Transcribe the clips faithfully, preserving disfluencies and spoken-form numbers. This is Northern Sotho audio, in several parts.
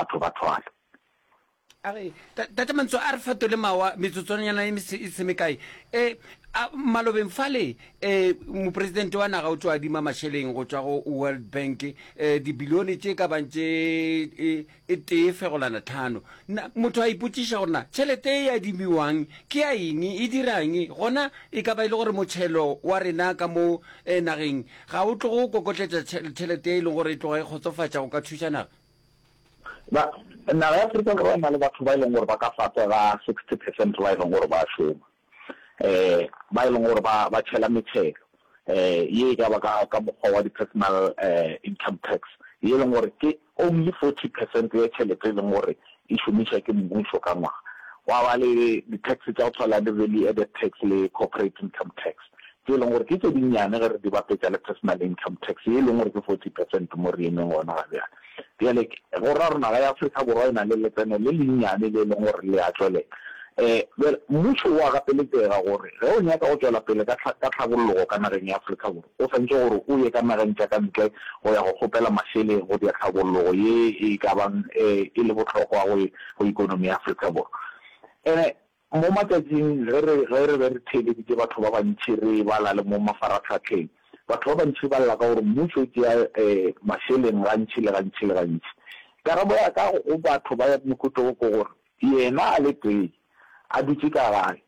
batho ba thwale. A re, Tate Mantso, a re fetole mawa metsotswanyana e e se mekae. E, a, malobeng fale, e, mopresidente wa naga o tšo adima mašeleng go tšwa go World Bank, e, dibilione tše ka bang tše e, e tee fegolana tlhano. Na, motho a ipotšiša gore na tšhelete e adimiwang ke ya eng, e dirang? Gona e ka ba e le gore motšhelo wa rena ka mo e, nageng ga o tloge o kokotletša tšhelete e leng gore e tloga e kgotsofatša go ka thuša naga? Ba, naga ya Afrika Borwa e na le batho ba e leng gore ba ka fase ga sixty percent ba e leng gore ba šoma, um ba e leng gore ba ba tšhela metšhelo, um ye e ka ba ka ka mokgwa wa di-personal um income tax, ye e leng gore ke only forty percent ya tšhelete e leng gore e šomišwa ke mmušo ka ngwaga. Gwa ba le di-tax tša go tshwana le value added tax le corporate income tax, tše e leng gore ke tše dinnyane ge re di bapetša le personal income tax ye e leng gore ke forty percent mo re emeng gona ga bjale. Bjale go ra gore naga ya Afrika Borwa e na le letseno le lennyane le e leng gore le a tšwelela. Um bjale mmušo o a gapeletšega gore ge o nyaka go tšwela pele ka ka tlhabollogo ka nageng ya Afrika Borwa, o swanetše gore o ye ka nageng tša ka ntle go ya go kgopela mašeleng go dia tlhabollogo ye e ka bang e le bohlokwa go go ikonomi ya Afrika Borwa. Ene mo matšatšing ge re ge re be re theeleditše batho ba bantši re bala le mo mafaratlhatlheng, batho ba bantši ba lla ka gore mmušo o tšea um mašeleng gantši le gantši le gantši. Karabo ya ka go batho ba mohuta wo ke gore yena a le tee a dutše ka gae,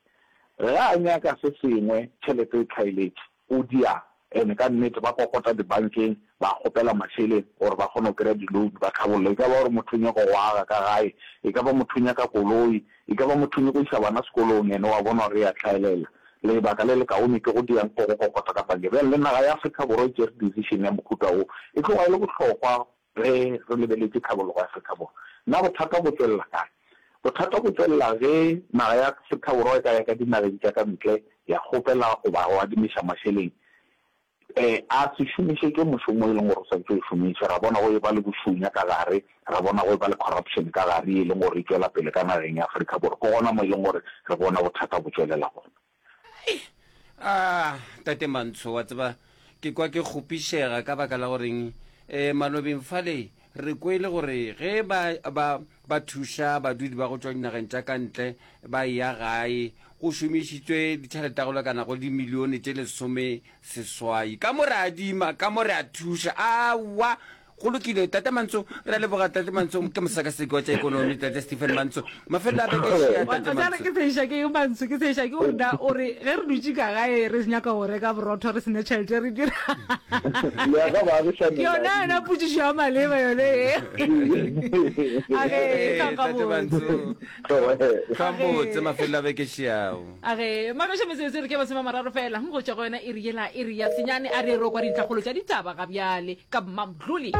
ge a nyaka se sengwe tšhelete e tlhaeletše, o dia ene ka nnete ba kokota dibankeng ba kgopela mašeleng gore ba kgone go kry-a di-loan ba tlhabolle. E ka ba gore motho o nyaka go aga ka gae, e ka ba motho o nyaka koloi, e ka ba motho o nyaka go iša bana sekolong, ene wa bona gore e a tlhaelela. Lebaka le lekaone ke go diang ke go kokota ka bankeng. Bjale le naga ya Afrika Borwa e tšere decision ya mohuta wo, e tloga e le bohlokwa ge re lebeletše tlhabologo ya Afrika Borwa. Na bothata bo tšwelela kae? Bothata bo tšwelela ge naga ya Afrika Borwa e ka ya ka dinageng tša ka ntle ya kgopela goba go adimiša mašeleng, um a se šomišetšwe mošomo e leng gore o swanetše o šomišwe. Ra bona go e ba le bošunya ka gare, ra bona go e ba le corruption ka gare ye e leng gore e tšwela pele ka nageng ya Afrika Borwa. Ke gona mo e leng gore re bona bothata bo tšwelela gona. Ah, Tate Mantsho, wa tseba, ke kwa ke kgopišega ka baka la goreng eh, malobeng fale re kwele gore ge ba, ba, ba thuša badudi ba go tšwa dinageng tša ka ntle ba eya gae, go šomišitšwe ditšhelete go lekana go dimilione tše lesome seswai. Ka mo re adima, ka mo re a thuša. Aowa, go lokile, Tate Mantso, re a leboga. Tate Mantso ke mosekaseki wa tša ekonomi, Tate Stephen Mantso. Mafelelo a beke šia, Tate Mantso. Ke tsheša ke Mantso, ke tsheša ke gore na o re ge re dutše ka gae re nyaka go reka borotho re sena tšhelete re dira. Ke yona yona potšišo ya maleba yone e. A ge Tate Mantso, hlwa mafelelo a beke šiao. A ge magoše metsotso re ke masome a mararo fela go tšwa go yona iri yela iri ya senyane a re ro kwa dintlhakgolo tša ditaba ga bjale ka Mmamdluli.